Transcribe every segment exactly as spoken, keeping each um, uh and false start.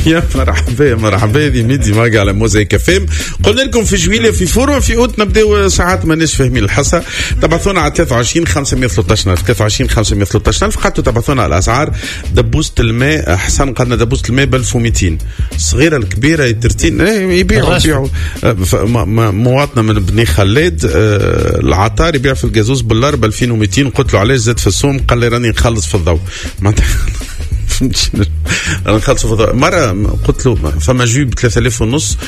يا مرحبا مرحبا، هذه ميدي ماغ على موزايك اف ام. قلنا لكم في جويلية في فورما في اوت نبداو ساعات ماناش فاهمين الحصة. تبعثونا على ثلاثة وعشرين خمسمية وثلاثطاش ألف، ثلاثة وعشرين خمسمية وثلاثطاش ألف. قعدتوا تبعثونا على الاسعار. دبوسة الماء حسن قالنا دبوسة الماء ب ألف ومئتين، الصغيرة الكبيرة يترتين يبيعوا يبيعوا. مواطنه من بني خلاد العطار يبيع في الجازوز باللار ب ألفين ومئتين. قلت له علاش زاد في السوم؟ قال لي راني نخلص في الضوء. معناتها انا نخلص في الضوء. مرة قلت له فما jus ب ثلاثة آلاف ونص،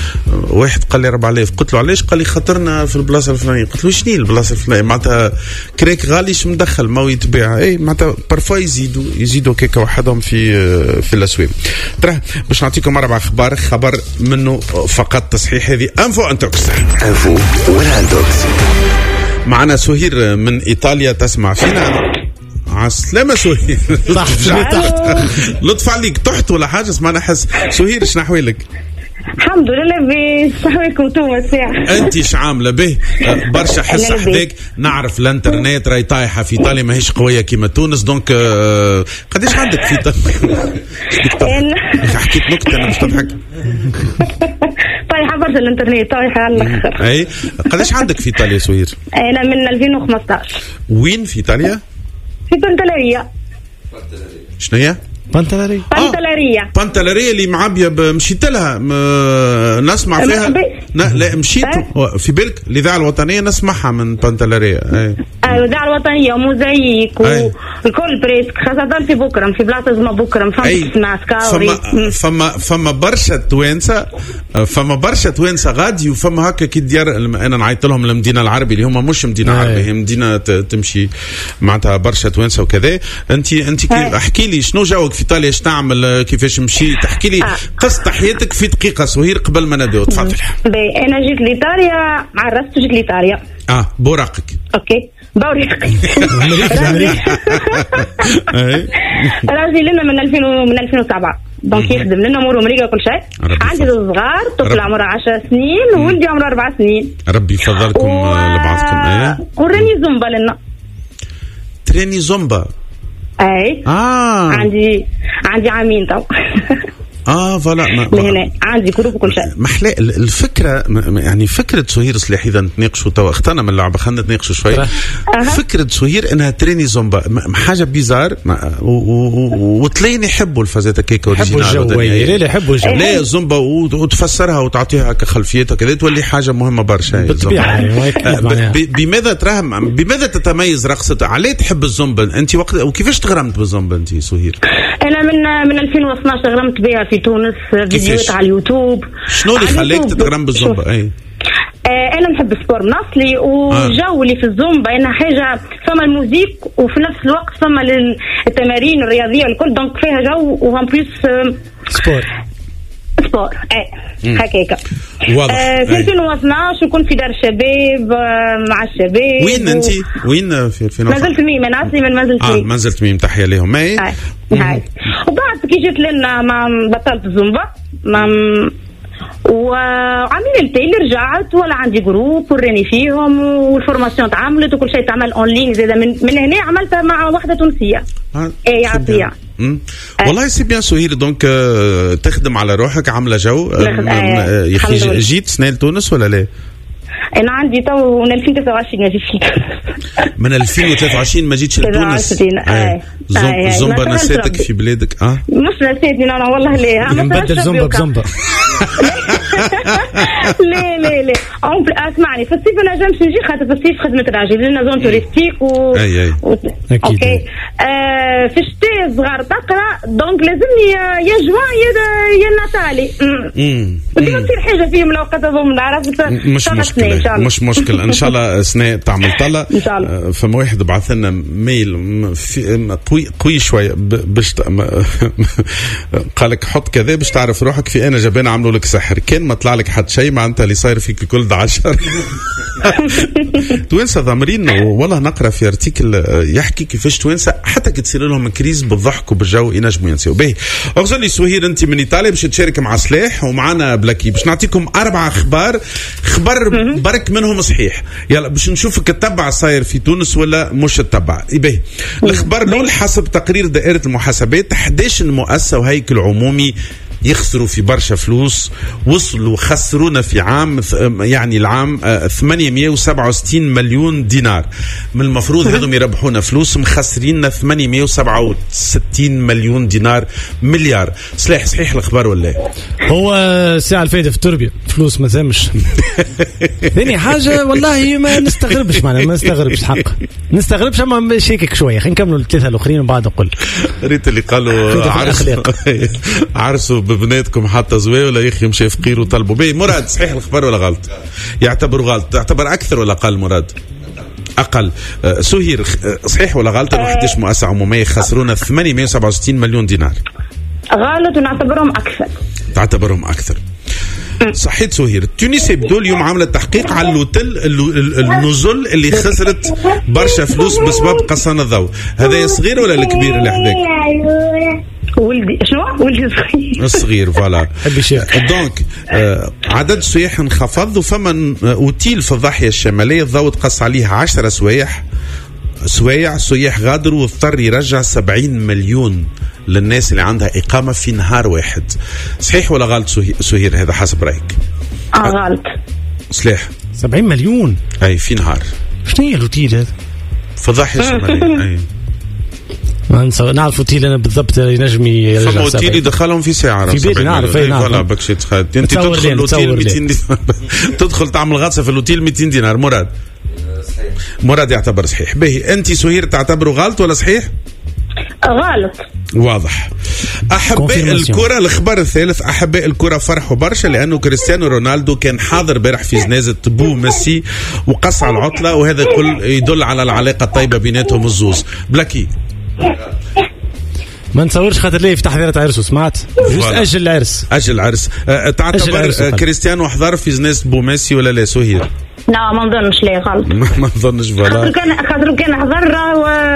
واحد قال لي أربعة آلاف. قلت له علاش؟ قال لي خاطرنا في البلاصة الفلانية. قلت له شنو البلاصة الفلانية؟ معناتها كريك غالي شو مدخل ما هو يتباع. اي معناتها parfois يزيدوا يزيدوا كيكة وحدهم في في الاسواق. ترى باش نعطيكم اربع اخبار، خبر منه فقط تصحيح. هذه info intox، info ولا intox. معنا سهير من ايطاليا تسمع فينا. عسلامة سهير. تحت لطف عليك، تحت ولا حاجة؟ سمعنا حس. سهير شنو أحوالك؟ الحمد لله لاباس، شحوالكم انتوما الساعة؟ انت شعاملة به؟ برشا حس حداك. نعرف الانترنت راهي طايحة في ايطاليا، ماهيش قوية كيما تونس. donc قداش عندك في ايطاليا؟ حكيت نكتة انا باش تضحك. طايحة برشا الانترنت، طايحة على الاخر. اي قداش عندك في ايطاليا سهير؟ انا من ألفين وخمسطاش. وين في ايطاليا؟ في بنتلاريا. شنو هي؟ بنتلاريا. بنتلاريا بنتلاريا اللي معبيه مشيت لها م... نسمع فيها. ن... لا مشيت في بالك الاذاعة الوطنية نسمعها من بنتلاريا. اي الاذاعة الوطنية وموزايك والكل presque، خاصة في بكرم، في بلاصة اسمها بكرم فما تسمع سكاوري. فما فما فما برشا توانسة، فما برشا توانسة غادي، وفما هكا كي ديار انا نعيط لهم المدينة العربي اللي هما مش مدينة عربية، هي مدينة تمشي معناتها برشا توانسة وكذا. انت انت احكي لي شنو جوك في ايطاليا، ايش تعمل، كيفاش مشيت؟ احكي لي آه. قصة حياتك في دقيقة سهير قبل ما نبداو. تفضل. باهي انا جيت لايطاليا، عرفت جيت لايطاليا. اه بوراقك. OK بوراقي. راجلي لنا من ألفين من ألفين وسبعة، donc يخدم لنا اموره مريقه كل شيء. عندي صغار، طفل عمره عشر سنين وولدي عمره أربع سنين. ربي يفضلكم و... لبعضكم. ايه وراني زومبا لنا. تريني زومبا؟ اي اه عندي عندي عامين تو. اه voilà هنا عندي groupe وكل شيء. محلى الفكرة، يعني فكرة سهير صلاح اذا نتناقشوا توا، اخترنا من اللعبة خلينا نتناقشوا شوي. أه. فكرة سهير انها تريني زومبا حاجة bizarre، وتلاقيني يحبوا الفازات كيك يحبوا الجو. لا يحبوا الجو، لا زومبا وتفسرها وتعطيها كخلفيتها كذا تولي حاجة مهمة برشا بالطبيعة. بماذا تراهم، بماذا تتميز رقصه؟ علاه تحب الزومبا انت وقت، وكيفاش تغرمت بالزومبا انت سهير؟ انا من من ألفين واثناش تغرمت بها في تونس، فيديوهات على اليوتيوب. شنو اللي خلاك تتغرم بالزومبا؟ اي آه انا نحب ال sport من اصلي، والجو اللي في الزومبا انها حاجة فما ال musique وفي نفس الوقت فما التمارين الرياضية الكل، donc فيها جو و en plus sport sport. اي هكاك واضح. آه في ألفين واثناش كنت في دار الشباب مع الشباب. وين انت؟ وين في ألفين واثناش؟ منزل تميم. انا اصلي من منزل تميم. اه منزل تميم، تحية لهم. اي هاي. وبعد كي جيت لنا ما بطلت الزومبا، ما وعاملين التالي رجعت ولا عندي groupe وراني فيهم، وال formation تعملت وكل شيء تعمل en ligne زاد. من, من هنا عملتها مع واحدة تونسية. آه. اي عطية. والله c'est bien سهير، donc تخدم على روحك، عامله جو. يا اخي جيت سنة لتونس ولا لا؟ انا عندي تو من ألفين وتسعة وعشرين ما جيتش لتونس. من ألفين وثلاثة وعشرين ما جيتش لتونس؟ اي. زومبا نسيتك في بلادك؟ اه مش نسيتني انا والله. لا نبدل زومبا بزومبا. لا لا لا اسمعني، في الصيف انا نجمش نجي خاطر في الصيف خدمة راجل لنا zone touristique و اي اي اكيد. OK آه في الشتاء صغار تقرا، donc لازمني يا جوان يا يا ناتالي. ديما تصير حاجة فيهم الاوقات هذوما، عرفت؟ مش مشكلة مش مشكلة ان شاء الله سنة تعمل طلة. ان شاء الله. فما واحد بعث لنا mail قوي قوي شوية باش قال لك حط كذا باش تعرف روحك في انا جبانه عملوا لك سحر، كان ما طلع لك حد شيء معناتها اللي صاير فيك الكل عشر. توانسة ضامرين والله. نقرا في article يحكي كيفاش توانسة حتى كي تصير لهم crise بالضحك وبالجو ينجموا ينساو. باهي اغزر لي سهير، انت من ايطاليا باش تشارك مع سلاح ومعنا بلاكي باش نعطيكم اربع اخبار، خبر برك منهم صحيح. يلا باش نشوفك تتبع صاير في تونس ولا مش تتبع. باهي الخبر الاول، حسب تقرير دائرة المحاسبات أحد عشر مؤسسة وهيكل عمومي يخسروا في برشا فلوس، وصلوا خسرونا في عام يعني العام ثمانمية وسبعة وستين مليون دينار. من المفروض هذم يربحونا فلوس، مخسريننا ثمانمية وسبعة وستين مليون دينار، مليار. صحيح صحيح الأخبار ولا؟ هو الساعة الفايدة في التربية فلوس ما ثمش. ثاني حاجة والله ما نستغربش، معنا ما نستغربش حق نستغربش، أما شيكك شوية. خلينا نكملوا الثلاثة الآخرين وبعد نقول. ريت اللي قالوا عرسوا عرسوا ببناتكم حتى زوايا ولا يخي مشي فقير وطلبوا بيه. مراد صحيح الخبر ولا غلط؟ يعتبر غلط. تعتبر أكثر ولا أقل مراد؟ أقل. سهير صحيح ولا غلط أنه إحدى عشر مؤسسة عمومية خسرونا ثمانمية وسبعة وستين مليون دينار؟ غلط ونعتبرهم أكثر. تعتبرهم أكثر. صحيت سهير. Tunis Hebdo اليوم عاملة تحقيق على l'hôtel النزل اللي خسرت برشا فلوس بسبب قصان الضوء. هذا صغير ولا الكبير اللي حداك؟ ولدي. شنو ولدي صغير؟ الصغير voilà. donc آه عدد السياح انخفض، وفما اوتيل في الضاحية الشمالية الضوء تقص عليه عشرة سوايح سوايع سياح غادروا واضطر يرجع سبعين مليون للناس اللي عندها إقامة في نهار واحد. صحيح ولا غلط سهير هذا حسب رأيك؟ آه غلط. صحيح. سبعين مليون أي في نهار. شنو هي الأوتيل هذا؟ في الضاحية الشمالية. أي ما نص... نعرف أوتيل أنا بالضبط ينجم يرجع. فما أوتيل يدخلهم في ساعة. في بالي نعرف. أي نعرف. voilà بكشي تخيل أنت تدخل الأوتيل مئتين دينار. تدخل تعمل غطسة في الأوتيل مئتين دينار. مراد. صحيح. مراد يعتبر صحيح. به أنت سهير تعتبره غلط ولا صحيح؟ غلط. واضح. أحباء الكرة، الخبر الثالث، أحباء الكرة فرحوا برشا لأنه كريستيانو رونالدو كان حاضر بارح في جنازة بو ميسي وقص على العطلة، وهذا كل يدل على العلاقة الطيبة بيناتهم الزوز. بلاكي ما نتصورش خاطر ليه في تحضيرات عرسه، سمعت juste أجل العرس. أجل العرس. أه تعتبر كريستيانو حضر في جنازة بو ميسي ولا لا سهير؟ لا ما نظنش، لا غلط. ما نظنش voilà. خاطر كان خاطر كان حضر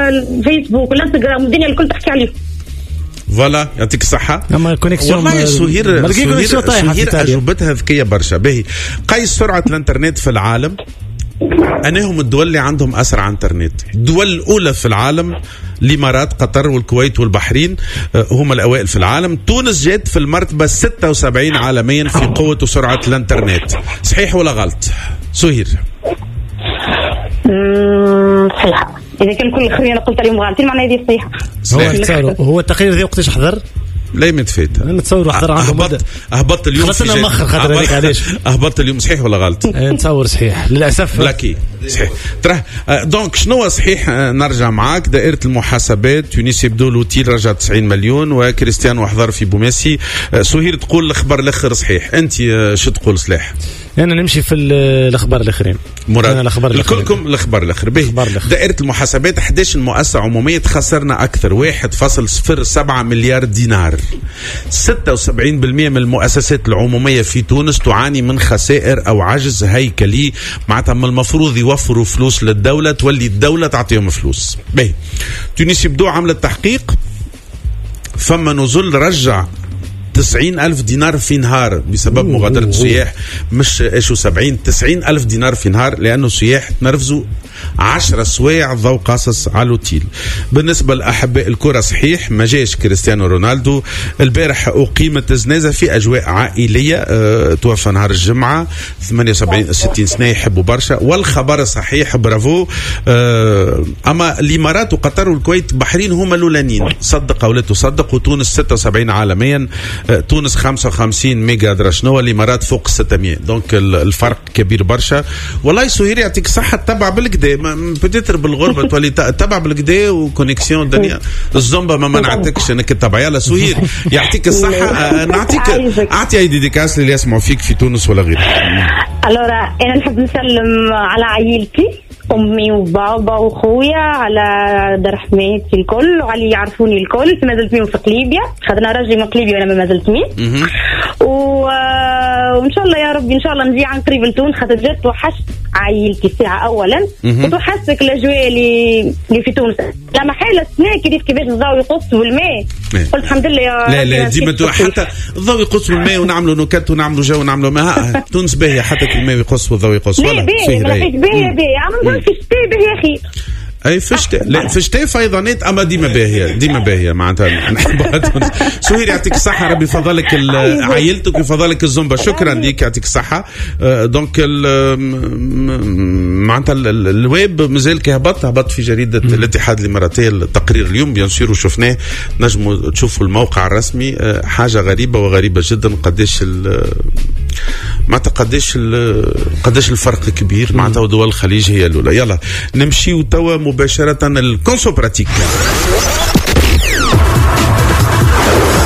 الفيسبوك والانستغرام والدنيا الكل تحكي عليه. voilà يعطيك الصحة. أما connexion والله سهير سهير, سهير أجوبتها ذكية برشا. باهي قيس سرعة الانترنت في العالم، أنهم الدول اللي عندهم أسرع انترنت، الدول الأولى في العالم الإمارات، قطر والكويت والبحرين هم الأوائل في العالم. تونس جات في المرتبة ستة وسبعين عالميا في قوة وسرعة الانترنت. صحيح ولا غلط سهير؟ صحيحة. إذا كان كل الخير أنا قلت عليهم غلطين معناها هذه صحيحة. هو هو التقرير ذي وقتاش حضر؟ لا متفيت. انا نتصور حضر عنده اهبط اهبط اليوم. خلصنا مخر خاطر هذيك علاش اهبط اليوم. صحيح ولا غلط؟ نتصور صحيح للاسف. بلاكي صحيح. ترى donc شنو صحيح؟ نرجع معاك. دائرة المحاسبات Tunis Hebdo l'hôtel رجع تسعين مليون وكريستيانو حضر في بوميسي. سهير تقول الخبر الاخر صحيح، انت شو تقول صلاح؟ انا نمشي في الاخبار الاخرين. مراد الاخبار كلكم الاخبار الاخر. به دائرة المحاسبات إحدى عشرة مؤسسة عمومية خسرنا اكثر واحد فاصل صفر سبعة مليار دينار. ستة وسبعين بالمئة من المؤسسات العمومية في تونس تعاني من خسائر أو عجز هيكلي، معناتها من المفروض يوفروا فلوس للدولة، تولي الدولة تعطيهم فلوس. باهي Tunis Hebdo عملت تحقيق، فما نزل رجع تسعين ألف دينار في نهار بسبب مغادرة السياح. مش إيش وسبعين، تسعين ألف دينار في نهار لأنه السياح تنرفزوا عشرة سوايع ضوء قاصص على الأوتيل. بالنسبة لأحباء الكرة صحيح ما جاش كريستيانو رونالدو البارح، أقيمت جنازة في أجواء عائلية. أه توفى نهار الجمعة ثمانية وسبعين ستين سنة، يحبوا برشا. والخبر صحيح برافو. أه أما الإمارات وقطر والكويت بحرين هما الأولانيين، صدق أو لا تصدق. وتونس ستة وسبعين عالميا، أه تونس خمسة وخمسين ميجا درا شنو، الإمارات فوق ستمية. donc الفرق كبير برشا. والله سهير يعطيك الصحة، تبع بالكدا peut-être بالغربة تولي تبع بالكدا و connexion الدنيا الزومبا ما منعتكش انك تتبع. يلا سهير يعطيك الصحة. نعطيك اعطي اي dédicace اللي يسمعوا فيك في تونس ولا غيره. alors انا نحب نسلم على عائلتي، امي وبابا وخويا، على دار حماتي الكل وعلى اللي يعرفوني الكل. ما زلت مين في قليبيا، خاطر راجلي من قليبيا وانا ما زلت مين. و... وان شاء الله يا ربي ان شاء الله نجي عن قريب لتونس، خاطر جات وحشت عائلتي الساعة اولا، وتوحشتك الاجواء اللي اللي في تونس. لا محالة السنة كيف كيفاش الضوء يقص والماء، قلت الحمد لله يا لا لا ديما حتى الضوء يقص والماء ونعملوا نكت ونعملوا جو ونعملوا ما تونس باهيه حتى الماء يقص والضوء يقص. ولا باهي باهي باهي عم نقول في الشتاء باهي خير. اي في الشتاء، لا في الشتاء فيضانات، اما ديما باهيه، ديما باهيه معناتها نحبها تونس. سهير يعطيك الصحه، ربي يفضلك عائلتك ويفضلك الزومبا. شكرا ليك، يعطيك الصحه. آه، donc معناتها الويب مازال كي هبط هبط في جريدة الاتحاد الاماراتي التقرير اليوم bien sûr وشفناه، نجموا تشوفوا الموقع الرسمي. آه، حاجة غريبة وغريبة جدا، قداش معناتها قداش قداش الفرق كبير معناتها، دول الخليج هي الاولى. يلا نمشيو توا مباشرة ال conso pratique.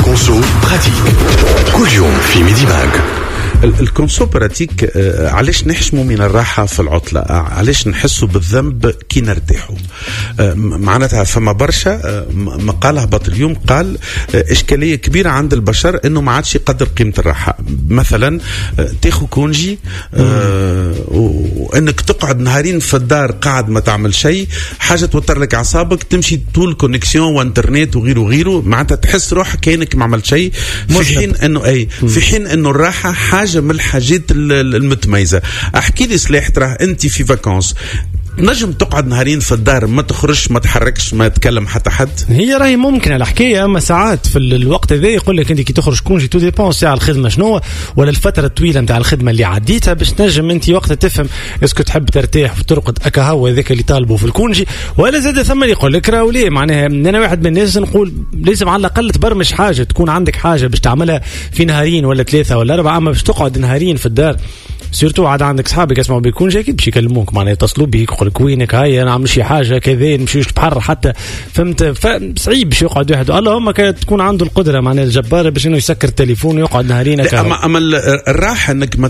conso pratique كل يوم في ميدي ماغ. ال conso pratique، آه، علاش نحشموا من الراحة في العطله؟ آه، علاش نحسوا بالذنب كي نرتاحوا؟ آه، معناتها فما برشا مقال هبط اليوم قال اشكالية كبيرة عند البشر انه ما عادش يقدر قيمة الراحه. مثلا تاخذ congé وانك تقعد نهارين في الدار قاعد ما تعمل شيء، حاجة توتر لك اعصابك، تمشي طول connexion وانترنت وغيره وغيره، معناتها تحس روحك كانك ما عملت شيء، في حين انه اي في حين انه الراحة حاجة من الحاجات المتميزه. احكي لي سلاح، تراه انت في vacances نجم تقعد نهارين في الدار ما تخرجش، ما تحركش، ما تكلم حتى حد؟ هي راهي ممكنة الحكايه، اما ساعات في الوقت هذا يقول لك انت كي تخرج congé tout dépend ساعة الخدمة شنو ولا الفترة الطويلة نتاع الخدمة اللي عديتها، باش تنجم انت وقتها تفهم est-ce que تحب ترتاح وترقد اكا هو هذاك اللي طالبه في ال congé، ولا زاد ثم اللي يقول لك راهو ليه. معناها انا واحد من الناس نقول لازم على الاقل تبرمج حاجه، تكون عندك حاجة باش تعملها في نهارين ولا ثلاثة ولا اربعه، اما باش تقعد نهارين في الدار surtout عاد عندك صحابك يسمعوا بال congé اكيد باش يكلموك، معناها يتصلوا بيك يقول لك وينك، هاي نعمل شي حاجة كذا، نمشيوش البحر حتى، فهمت؟ فصعيب باش يقعد واحد، اللهم كانت تكون عنده القدرة معناها الجبارة باش انه يسكر التليفون ويقعد نهارين. اما اما الراحة انك ما